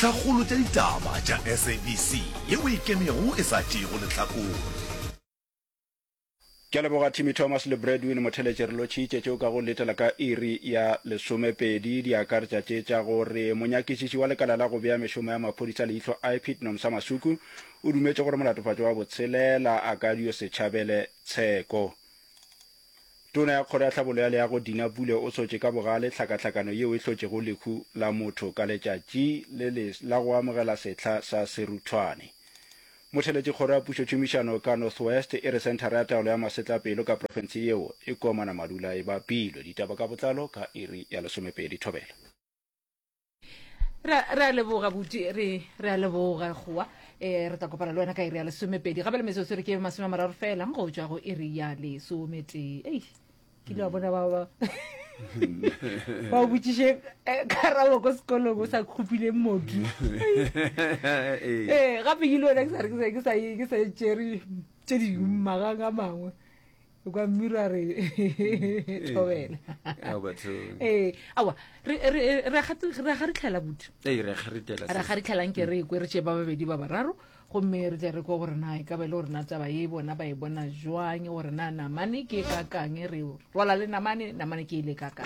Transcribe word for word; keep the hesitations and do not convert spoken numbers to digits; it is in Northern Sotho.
Tlhakgolo tša ditaba tša S A B C yeo e ikemego e sa tšeego lehlakore. Ke a leboga Timmy Thomas le Bradwin Motheletše re lotšhitše tšeo ka go letela ka iri ya lesomepedi di akaretša tše tša gore monyakišiši wa lekala la go bea mešomo ya maphodisa leihlo I P I D Nomsa Masuku o dumetše gore molatofatšo wa botshelela a ka dio se tšhabele tsheko. Tona ya Kgoro ya Tlhabollo ya Leago Dina Pule o sotše ka bogale tlhakatlhakano yeo e hlotšego lehu la motho ka letšatši le le la go amogela sehla sa seruthwane. Motheletši Kgoro ya Pušotšhomišano ka North West e re senthara ya taolo ya masetlapelo ka profense yeo e komana madula e bapilwe. Ditaba ka botlalo ka iri ya lesomepedi. Thobela. Re re a leboga buti, re re a leboga goa. eh re tla kopana le wena ka iri ya lesomepedi gape le metsotso re ke masome a mararo fela go tšwa go iri ya lesometee. Ei, ke ile wa bona ba ba ba o botšiše eh, karabo ko sekolong o sa khupile modu. Ee, gape ke ile wena ke sa re ke sa ke sa ke sa tšere tše dingwe magang a mangwe kwa mmiro a re thobela. Ee, aowa, re re re a gati- re a garitlhela buti. Ee, re a kgaritela. Re garitlhelang ke re kwe re tše ba babedi ba bararo gomme re tle re kwe gore na e ka ba e le gore na taba ye bona ba e bona jwang, gore na namane ke e kakang, re rwala le namane, namane ke e le kakang.